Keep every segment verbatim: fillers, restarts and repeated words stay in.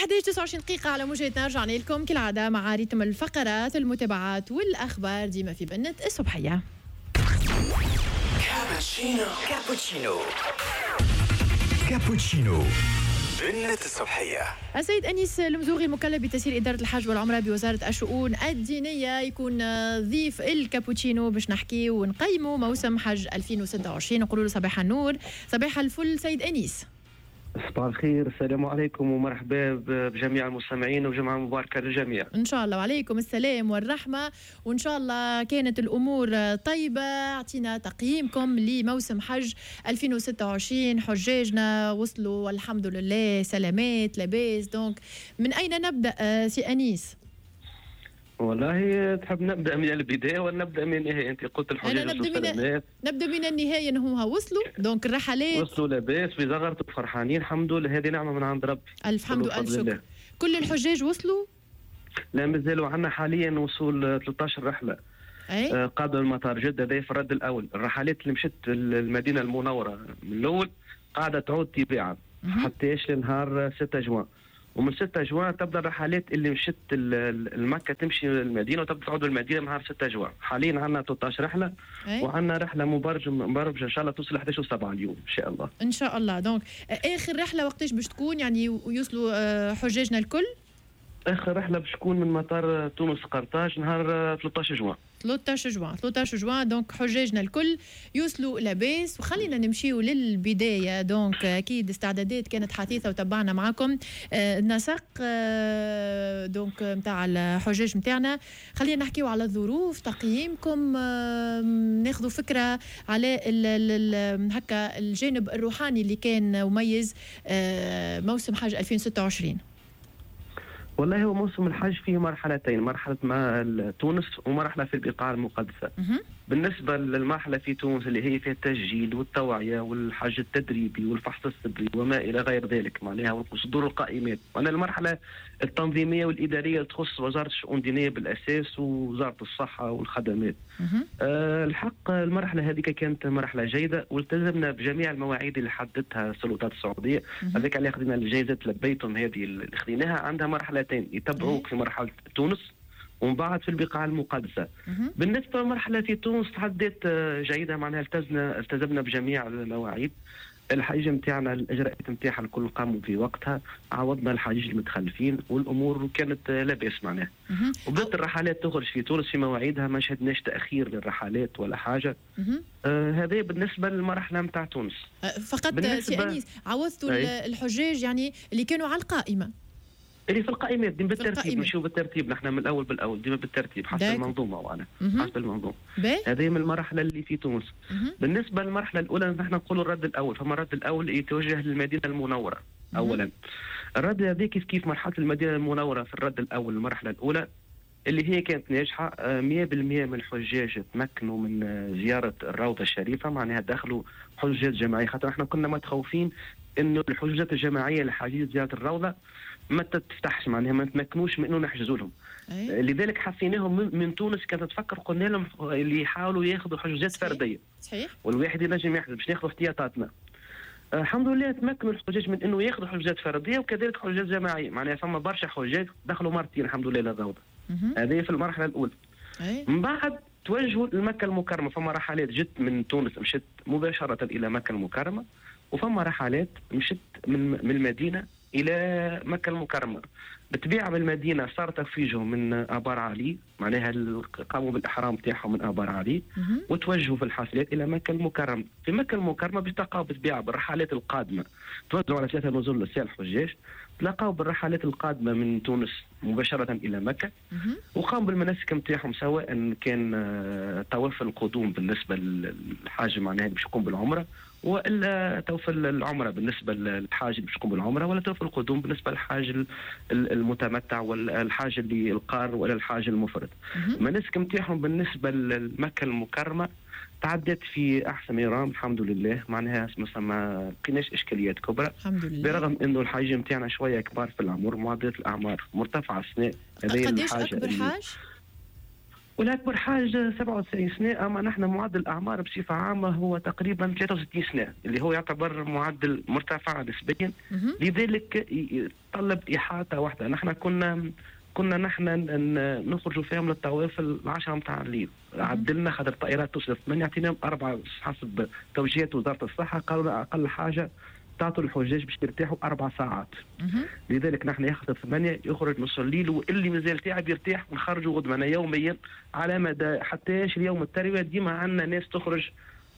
الحادية عشرة وتسعة وعشرين دقيقة على موجاتنا، رجعنا لكم كالعادة مع rythme الفقرات، المتابعات والأخبار، ديما في بنة الصبحية. كابتشينو، كابوتشينو، كابوتشينو، بنة الصبحية. السيد أنيس المزوغي، المكلف بتسيير إدارة الحج والعمرة بوزارة الشؤون الدينية، يكون ضيف الكابوتشينو باش نحكي ونقيموا موسم حج ألفين وستة وعشرين. نقولوا له صباح النور، صباح الفل سيد أنيس. صباح الخير، السلام عليكم ومرحبا بجميع المستمعين وجمعة مباركة للجميع. إن شاء الله، وعليكم السلام والرحمة، وإن شاء الله كانت الأمور طيبة. أعطينا تقييمكم لموسم حج ألفين وستة وعشرين، حجاجنا وصلوا والحمد لله سلامات لاباس، donc من أين نبدأ سي أنيس؟ والله تحب نبدا من البداية ولا نبدا من النهايه؟ انت قلت الحجاج. أنا نبدا من نبدا من النهايه، انهم وصلوا، donc الرحلات وصلوا لاباس ويزغرتوا فرحانين، الحمد لله، هذه نعمه من عند ربي. الف حمد والف شكر. كل الحجاج وصلوا؟ لا، مازالوا عندنا حاليا وصول ثلاثة عشر رحله. أي؟ آه قادم المطار جده، هذا في الرد الاول. الرحلات اللي مشت المدينة المنورة من الاول قاعدة تعود تباعا حتى لنهار ستة جوان، ومن ستة جوان تبدا الرحلات اللي مشت المكة تمشي للمدينة وتبدا تعود للمدينة نهار ستة جوان. حاليا عندنا ثلاثة عشر رحله وعندنا رحله مبرمجه مبرمجه ان شاء الله توصل إحداش وسبعة اليوم ان شاء الله. ان شاء الله. donc اخر رحله وقتاش باش تكون، يعني ويوصلوا آه، حجاجنا الكل؟ اخر رحله باش تكون من مطار تونس قرطاج نهار ثلاثة عشر جوان. ثلاثة عشر جوان، ثلاثة عشر جوان، donc حجاجنا الكل يوصلوا لاباس. وخلينا نمشيو للبدايه، donc اكيد استعدادات كانت حثيثه وتبعنا معكم آه، النسق آه، donc نتاع الحجاج نتاعنا. خلينا نحكيو على الظروف، تقييمكم، آه، ناخذوا فكرة على هكا الجانب الروحاني اللي كان مميز موسم حج ألفين وستة وعشرين. والله هو موسم الحج فيه مرحلتين، مرحلة مع تونس ومرحلة في البقاع المقدسة. بالنسبة للمرحلة في تونس اللي هي فيها التسجيل والتوعية والحج التدريبي والفحص الطبي وما إلى غير ذلك، معناها وصدور القائمات، وأنا المرحلة التنظيمية والإدارية اللي تخص وزارة الشؤون الدينية بالأساس ووزارة الصحة والخدمات. أه الحق المرحلة هذيك كانت مرحلة جيدة والتزمنا بجميع المواعيد اللي حددتها السلطات السعودية. هذاك علاه خذينا الجائزة لبيتم هذه اللي خذيناها، عندها مرحلتين، يتبعوك في مرحلة تونس ومن بعد في البقاع المقدسة. بالنسبة للمرحلة في تونس تعدت آه، جيده، معناها التزمنا التزمنا بجميع المواعيد، الحجيج نتاعنا الاجراءات نتاعها الكل قاموا في وقتها، عوضنا الحجيج المتخلفين والامور كانت لاباس معناها، وبدات الرحلات تخرج في تونس في مواعيدها، ما شهدناش تاخير للرحلات ولا حاجه. آه هذا بالنسبة للمرحلة نتاع تونس. أه، فقط سي انيس، عوضتوا الحجاج يعني اللي كانوا على القائمه؟ اللي في القائمات، ديما بالترتيب، نمشيو بالترتيب نحن من الاول بالاول، ديما بالترتيب حسب المنظومه، وانا حسب المنظومه. هذه من المرحلة اللي في تونس. بالنسبة للمرحلة الاولى، نحن نقولوا الرد الاول، فما الرد الاول يتوجه للمدينة المنورة اولا. الرد هذا كيف كيف مرحلة المدينة المنورة في الرد الاول، المرحلة الاولى اللي هي كانت ناجحة مية بالمية من الحجاج تمكنوا من زيارة الروضة الشريفه، معناها دخلوا حجاج جماعيه، خاطر احنا كنا متخوفين انه الحجوزات الجماعية لحجيج زيارة الروضة ما تفتحش، معناها ما نتمكنوش من انه نحجزوا لهم. أي. لذلك حثيناهم من, من تونس، كانت تفكر، قلنا لهم اللي يحاولوا ياخذوا حجوزات فرديه. صحيح والواحد ينجم يحجز باش ناخذوا احتياطاتنا. الحمد لله تمكنوا الحجاج من انه ياخذوا حجوزات فردية وكذلك حجوزات جماعيه، معناها فما برشا حجاج دخلوا مرتين الحمد لله للروضه. هذه في المرحلة الاولى. أي. من بعد توجهوا لمكة المكرمه، فما رحلات جت من تونس مشت مباشرة الى مكة المكرمه، وفما رحلات مشت من من المدينة الى مكة المكرمه. بالطبيعة من المدينة صار تفويجهم من ابار علي، معناها قاموا بالاحرام تاعهم من ابار علي وتوجهوا في الحافلات الى مكة المكرمه. في مكة المكرمة باش تلقاو بالطبيعة بالرحلات القادمه، توزعوا على ثلاثة نزل للسير الحجاج، تلاقاو بالرحلات القادمة من تونس مباشرة الى مكة وقاموا بالمناسك نتاعهم، سواء كان آه، طواف القدوم بالنسبة للحاج معناها باش يقوم بالعمره، والا طواف العمرة بالنسبة للحاج اللي باش يقوم بالعمره، ولا طواف القدوم بالنسبة للحاج المتمتع والحاج اللي القار ولا الحاج المفرد. المناسك نتاعهم بالنسبة لمكة المكرمة تعدت في احسن يرام الحمد لله، معناها ما لقيناش اشكاليات كبرى. الحمد لله. برغم انه الحاج نتاعنا شوية كبار في العمر، معدلات الاعمار مرتفعة السنه. هذه قديش اكبر حاج؟ والاكبر حاجة سبعة وتسعين سنة، اما نحن معدل الاعمار بصفة عامة هو تقريبا ثلاثة وستين سنة، اللي هو يعتبر معدل مرتفع نسبيا. لذلك يتطلب احاطة واحدة. نحن كنا كنا نحن نخرجوا فيهم للطواف العشرة نتاع الليل، عدلنا خاطر الطائرات توصل ثمانية، اعطيناهم أربعة حسب توجيهات وزارة الصحة، قالوا أقل حاجة تعطوا الحجاج باش يرتاحوا أربع ساعات. لذلك نحن ياخذ ثمانية يخرج نص الليل، واللي مازال تعب يرتاح ونخرجوا غدوة يوميا على مدى حتى اليوم التروية. ديما عندنا ناس تخرج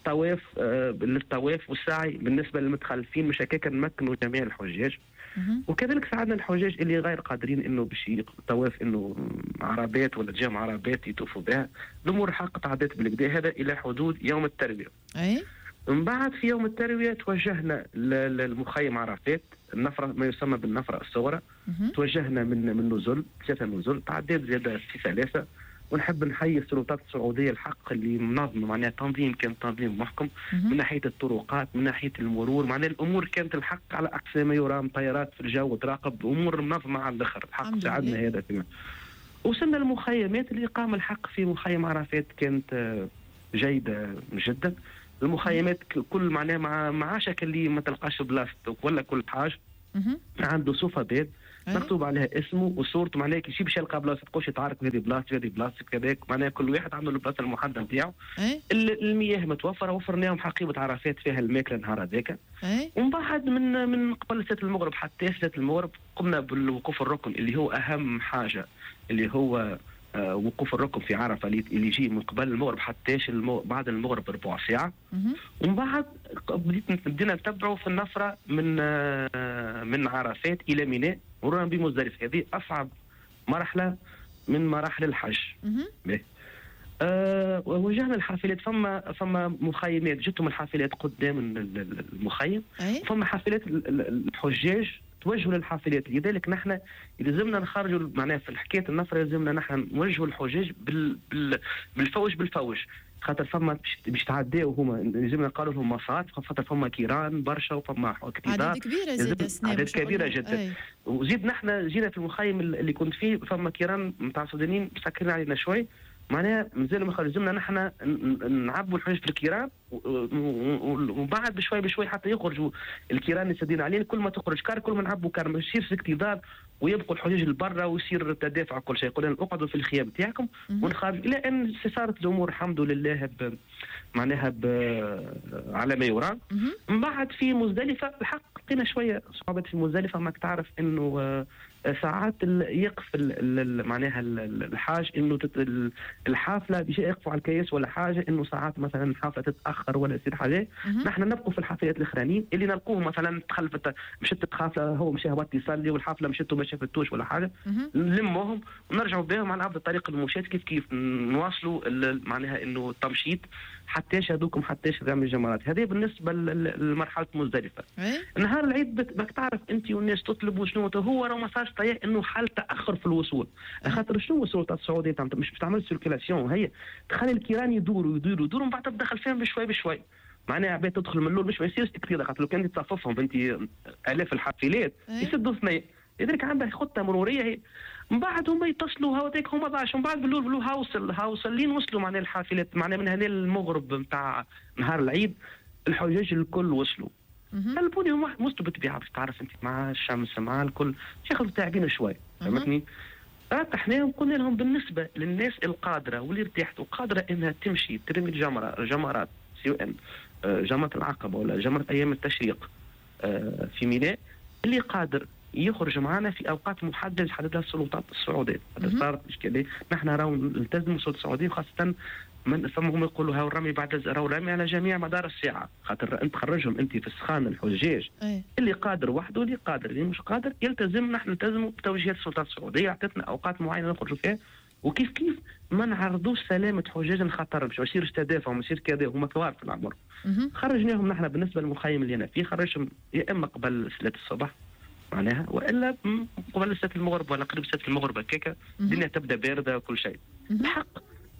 طواف آه للطواف والسعي بالنسبة للمتخلفين، مش هكاك نمكنوا جميع الحجاج. وكذلك ساعدنا الحجاج اللي غير قادرين انه باش طواف انه عربات ولا تجمع عربات يطوفوا بها. الامور حق تعدت بالكدا، هذا الى حدود يوم التروية. اي من بعد في يوم التروية توجهنا للمخيم عرفات، النفره ما يسمى بالنفره الصغرى. توجهنا من من نزل ثلاثة نزل، تعديت زيادة في ثلاثة. ونحب نحيي السلطات السعودية الحق اللي منظمة، معناها تنظيم كان تنظيم محكم من ناحية الطرقات، من ناحية المرور، معناها الامور كانت الحق على اقصى ما يرام، طيارات في الجو تراقب، امور منظمة على الاخر الحق ساعدنا هذا. فيما وصلنا المخيمات، اللي قام الحق في مخيم عرفات كانت جيدة جدا. المخيمات كل معناها مع معاشك اللي ما تلقاش بلاصتك ولا كل حاجة، عنده صوفه بيض مكتوب عليها اسمه وصورته، معناها كي يجي باش يلقى بلاصة تقولش يتعارك هذه بلاصتي هذه بلاصتك كذاك، معناها كل واحد عنده البلاصة المحددة نتاعو. المياه متوفرة، وفرناهم حقيبة عرفات فيها الماكلة النهار هذاك. ومن بعد من من قبل ساعة المغرب حتى ساعة المغرب قمنا بالوقوف الركن اللي هو اهم حاجة، اللي هو آه وقوف الركن في عرفه اللي يجي من قبل المغرب حتى المو... بعد المغرب بربع ساعة. ومن بعد بدينا نتبعوا في النفره من آه من عرفات الى ميناء مرورا بمزدلفة. هذه اصعب مرحلة من مراحل الحج. أه وجهنا الحافلات، فما فما مخيمات جتهم الحافلات قدام المخيم، فما حافلات الحجاج توجهوا للحافلات. لذلك نحن لازمنا نخرجوا معناها في حكاية النفره لازمنا نحن نوجهوا الحجاج بال بال بالفوج بالفوج، خاطر فما باش تعداو هما لازمنا قالوا لهم مسارات، خاطر فما كيران برشا وفما اكتظاظ، عدد كبيرة زاد، عدد كبيرة جدا. أي. وزيد نحن جينا في المخيم اللي كنت فيه فما كيران نتاع السودانيين مسكرين علينا شوي، معناها مازالوا ما لازمنا نحن نعبوا الحجاج في الكيران، ومن بعد بشوي بشوي حتى يخرجوا الكيران اللي سادين علينا. كل ما تخرج كار كل ما نعبوا كار، ما يصيرش اكتظاظ ويبقوا الحجاج لبرا ويصير تدافع كل شيء. قلنا اقعدوا في الخيام تاعكم ونخرج، الى ان صارت الامور الحمد لله ب... معناها ب... على ما يرام. من بعد في مزدلفة الحق لقينا شوية صعوبات في مزدلفة، ماك تعرف انه ساعات يقف معناها الحاج انه الحافلة باش يقفوا على الكياس ولا حاجة، انه ساعات مثلا الحافلة تتاخر ولا يصير حاجة. نحن نبقوا في الحافلات الاخرانيين اللي نلقوه مثلا تخلفت مشت حافلة هو مشى هبط يصلي والحافله مشت وما شافتوش ولا حاجة، نلموهم ونرجعوا بهم على عبد الطريق المشاة كيف كيف نواصلوا معناها انه التمشيط حتىش هذوكم حتىش رمي الجمرات. هذه بالنسبة لمرحلة مزدلفة. نهار العيد بدك تعرف انت والناس تطلب شنو هو، راه ما صارش طيح انه حال تاخر في الوصول، خاطر شنو السلطات السعودية مش تعمل circulation، هي تخلي الكيران يدوروا يدوروا يدوروا ومن بعد تدخل فيهم بشوي بشوي، معناها عباد تدخل من الاول باش ما يصيرش كثير، خاطر لو كان تصففهم انت الاف الحافلات يسدوا ثنيه. لذلك عندها خطه مروريه هي. من بعد هما يتصلوا هاوتيك هما ضاعش، من بعد باللول باللول هاوصل هاوصل لين وصلوا معناها الحافلات، معناها من هنا المغرب نتاع نهار العيد الحجاج الكل وصلوا. طلبوني هما وصلوا بالطبيعة باش تعرف انت مع الشمس مع الكل ياخذوا تعبين شوي، فهمتني؟ رتحناهم قلنا لهم بالنسبة للناس القادره واللي ارتاحت وقادرة انها تمشي ترمي الجمرة الجمرات سواء جمرة العقبة ولا جمرة ايام التشريق في ميناء، اللي قادر يخرج معنا في اوقات محددة حددها السلطات السعودية. هذا صارت اشكالية، نحن راهو نلتزموا السلطات السعودية، وخاصة من فما هم يقولوا هاو الرمي بعد راهو الرمي على جميع مدار الساعة، خاطر انت تخرجهم انت في السخان الحجاج. أي. اللي قادر وحده اللي قادر اللي مش قادر يلتزم، نحن نلتزموا بتوجيهات السلطات السعودية، اعطتنا اوقات معينة نخرجوا فيها، وكيف كيف ما نعرضوش سلامه حجاج للخطر باش ما يصيرش تدافع وما يصير كذا، هما كبار في العمر. خرجناهم نحن بالنسبة للمخيم اللي انا فيه خرجهم يا اما قبل ثلاثة الصبح معناها والا قبل ساعة المغرب ولا قريب ساعة المغرب هكاك الدنيا تبدا باردة وكل شيء. الحق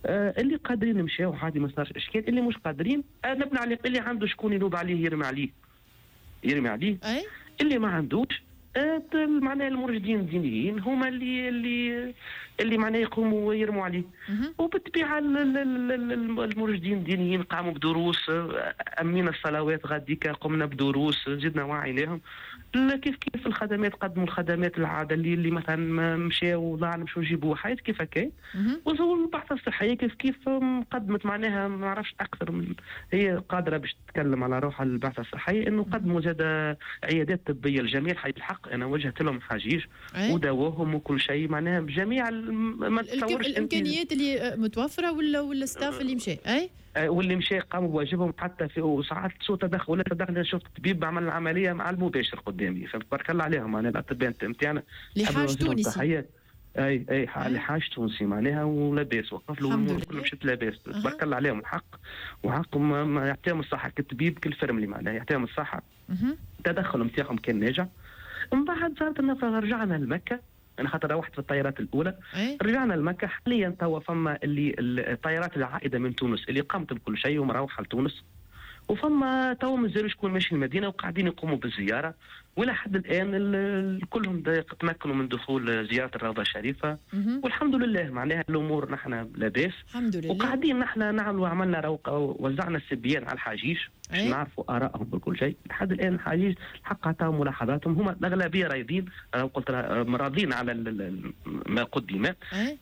آه اللي قادرين نمشيو عادي ما صارش اشكال، اللي مش قادرين آه نبني عليه، اللي عنده شكون ينوب عليه يرمي عليه يرمي عليه. أي؟ اللي ما عندوش آه معناها المرشدين الدينيين هما اللي اللي اللي معناه يقوموا ويرموا عليه. وبالطبيعه المرشدين الدينيين قاموا بدروس، امينا الصلوات غاديك قمنا بدروس، زدنا وعيناهم. كيف كيف الخدمات، قدموا الخدمات العادة اللي, اللي مثلا مشاو ضاع مشاو يجيبوا حياة كيف هكا. والبعثه الصحية كيف كيف قدمت معناها ما نعرفش اكثر من هي قادرة باش تتكلم على روحها البعثة الصحية، انه قدموا زاد عيادات طبية للجميع. حي الحق انا وجهت لهم حجيج وداوهم وكل شيء معناها بجميع ما تتصورش الامكانيات اللي متوفرة ولا ولا ال staff اللي مشى اي واللي مشى قاموا بواجبهم. حتى في وساعات سوء تدخل ولا تدخل، شفت طبيب عمل العملية مع المباشر قدامي، فتبارك الله عليهم معناها الاطباء نتاعنا. لحاج تونسي اي اي لحاج تونسي معناها ولاباس، وقف له الامور كلها مشات لاباس، تبارك الله عليهم الحق وحقهم يعطيهم الصحة كالطبيب كالفرملي معناها يعطيهم الصحة. التدخل نتاعهم كان ناجح. من بعد صارت النفرة رجعنا لمكة، انا خاطر روحت في الطيارات الاولى. أي؟ رجعنا لمكة. حاليا توا فما اللي الطيارات العائده من تونس اللي قامت بكل شيء ومروحه لتونس، وفما توا مازالوا شكون ماشي المدينة وقاعدين يقوموا بالزيارة، والى حد الان كلهم تمكنوا من دخول زيارة الروضة الشريفة. مم. والحمد لله معناها الامور نحن لاباس الحمد لله. وقاعدين نحن نعملوا عملنا روقه وزعنا السبيان على الحجيج باش نعرفوا ارائهم بكل شيء. لحد الان الحجيج الحق عطاهم ملاحظاتهم، هما الاغلبية راضين، قلت راضين على ما قدم،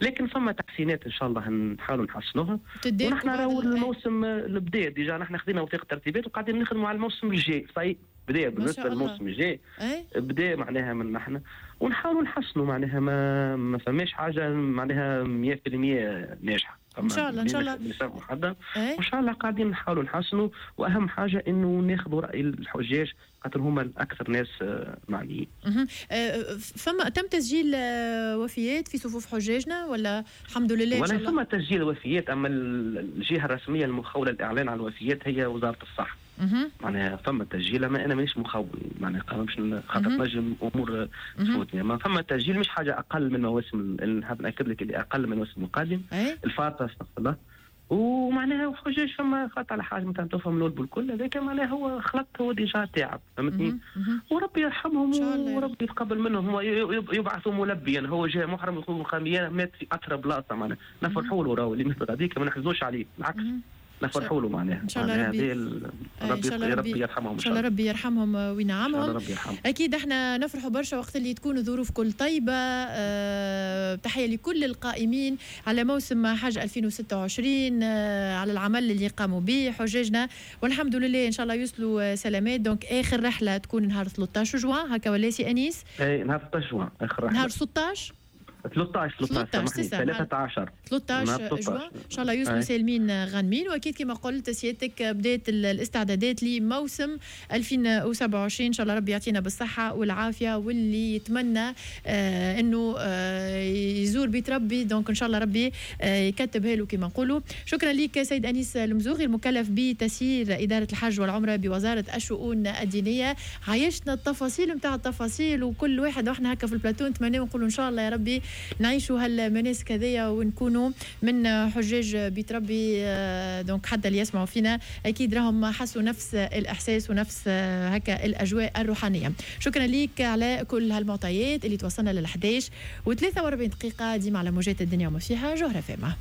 لكن فما تحسينات ان شاء الله نحاولوا نحسنوها. ونحن راهو الموسم البدا déjà نحن خذينا وثيقة ترتيبات وقاعدين نخدموا على الموسم الجاي. صحيح بدا بالنسبة للموسم الجاي بدا معناها من نحن ونحاولوا نحسنوا معناها ما ما فماش حاجة معناها مية بالمية ناجحة ان شاء الله. ان شاء الله بنسبة محددة وان شاء الله قاعدين نحاولوا نحسنوا، واهم حاجة انه ناخذوا راي الحجاج خاطر هما الاكثر ناس معنيين. فما تم تسجيل وفيات في صفوف حجاجنا ولا الحمد لله؟ ولا فما تسجيل وفيات، اما الجهة الرسمية المخوله الاعلان عن الوفيات هي وزارة الصحة. معناها فما تسجيل، اما انا مانيش مخول معناها باش خاطر نجم امور تفوتني، اما فما تسجيل مش حاجة اقل من مواسم، نحب ناكد لك اللي اقل من المواسم القادم الفارطه استغفر الله. ومعناها وحجاج فما خاطر على حاجة مثلا تفهم الاول بالكل هذاك معناها هو خلط هو déjà تعب فهمتني، وربي يرحمهم وربي يتقبل منهم. هو يبعثوا ملبيا، هو جاء محرم يقول خاميا مات في اطرى بلاصة معناها نفرحوا له راهو اللي مثل هذيك ما نحزنوش عليه بالعكس نفرحوا له معناها. ان شاء الله ربي ربي, ربي, ربي يرحمهم ان شاء الله ربي يرحمهم وينعمهم. ربي يرحمهم. اكيد احنا نفرحوا برشا وقت اللي تكون الظروف كل طيبة. أه تحية لكل القائمين على موسم حج ألفين وستة وعشرين، أه على العمل اللي قاموا به حجاجنا، والحمد لله ان شاء الله يوصلوا سلامات. donc اخر رحله تكون نهار ثلاثة عشر جوان هكا ولا سي انيس؟ اي نهار ستة عشر جوان اخر رحله. نهار ستة عشر ثلاثة عشر ثلاثة عشر ثلاثة عشر جوان ان شاء الله يوصلوا سالمين غانمين. واكيد كما قلت سيادتك بدات الاستعدادات لموسم ألفين وسبعة وعشرين، ان شاء الله ربي يعطينا بالصحة والعافية، واللي يتمنى آه انه آه يزور بيت ربي donc ان شاء الله ربي آه يكتبها له كما نقولوا. شكرا لك سيد انيس المزوغي المكلف بتسيير ادارة الحج والعمرة بوزارة الشؤون الدينية. عايشنا التفاصيل نتاع التفاصيل، وكل واحد واحنا هكا في البلاتو نتمنى ونقولوا ان شاء الله يا ربي نعيشوا هالمناسك هذيا ونكونوا من حجاج بيت ربي. donc حتى اللي يسمعوا فينا اكيد راهم حسوا نفس الاحساس ونفس هكا الاجواء الروحانية. شكرا ليك على كل هالمعطيات اللي توصلنا لل إحداش وثلاثة وأربعين دقيقة ديما على موجات الدنيا وما فيها. جوهرة فاهمة.